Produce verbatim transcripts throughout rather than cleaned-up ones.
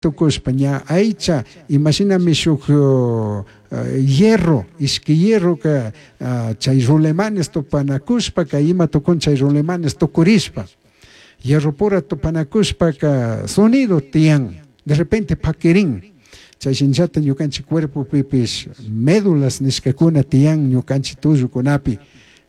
Tukushpa ña aycha imashinami shuk uh, hierro ishki hierroka uh, chay rulemanes tupanakushpaka ima tukun chay rulemanes tukurishpa hierro pura tupanakushpaka sonido tiyan, de repente pakirin. Chay shinllata ñukanchik cuerpopipish médulas nishkakuna tiyan ñukanchik tullukunapi,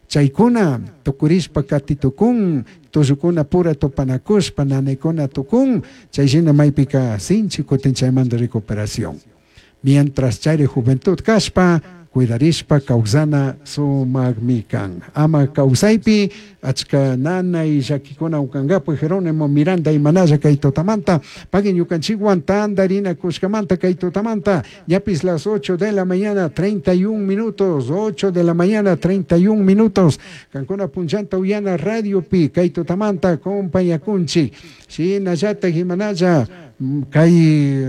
chaykuna tukurishpa kati tukun, tullukuna pura tupanakushpa nanaykuna tukun. Chay shina maypika sinchi kutin chaymanta recuperación. Mientras chayri juventud kashpa cuidarishpa kawsana sumakmi kan, ama kawsaypi achka nanay llakikuna ukankapak. Jerónimo Miranda, imanalla kay tutamanta pagui ñukanchikwan tantarinakushkamanta kay tutamanta. Ñapis las ocho de la mañana treinta y un minutos, ocho de la mañana treinta y un minutos, kankuna punchanta uyana radiopi kay tutamanta compañakunchik. Shinallatak imanalla kay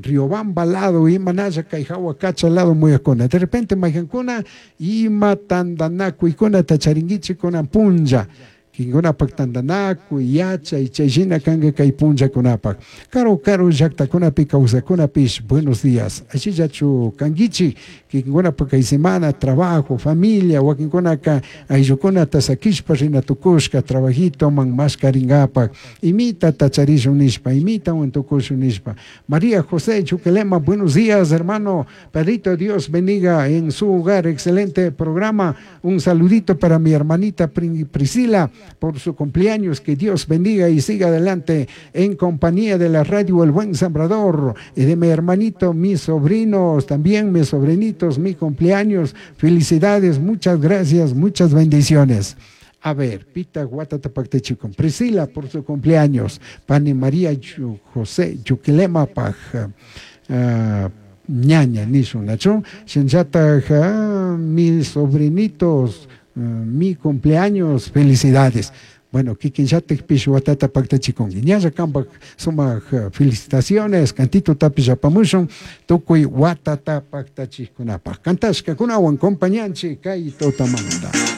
Riobamba lado, imanalla kay Jahuacacha lado muyakuna, de repente maykankuna ima tantanakuykunata charinkichik kunan punlla, kinkunapak tantanakuy yachay chay shina kanka kay punllakunapak. Karu karu llaktakunapi kawsakunapish, buenos días, ashillachu kankichik? Kikinkunapak kay semana trabajo, familia, wakinkunaka ayllukunata sakishpa rina tukushka trabajitoman mashkarinkapak, imitata charishun nishpa, imitawan tukushun nishpa. María José Chuquelema, buenos días, hermano Pedrito, Dios bendiga en su hogar, excelente programa. Un saludito para mi hermanita Priscila por su cumpleaños, que Dios bendiga y siga adelante en compañía de la radio El Buen Sembrador y de mi hermanito, mis sobrinos, también mis sobrinitos, mi cumpleaños. Felicidades, muchas gracias, muchas bendiciones. A ver, Pita Guatatapactechico, Priscila por su cumpleaños, Pani María José Yuquilema Paj, uh, ñaña nishun nachu, shinllataj mis sobrinitos, uh, mi cumpleaños, felicidades. Bueno, kikinllatikpish watata paktachikunki. Ñalla kampak sumak felicitaciones, cantito tapish apamushun, tukuy watata paktachikkunapak. Kantashkakunawan compañanchik kay tutamanta.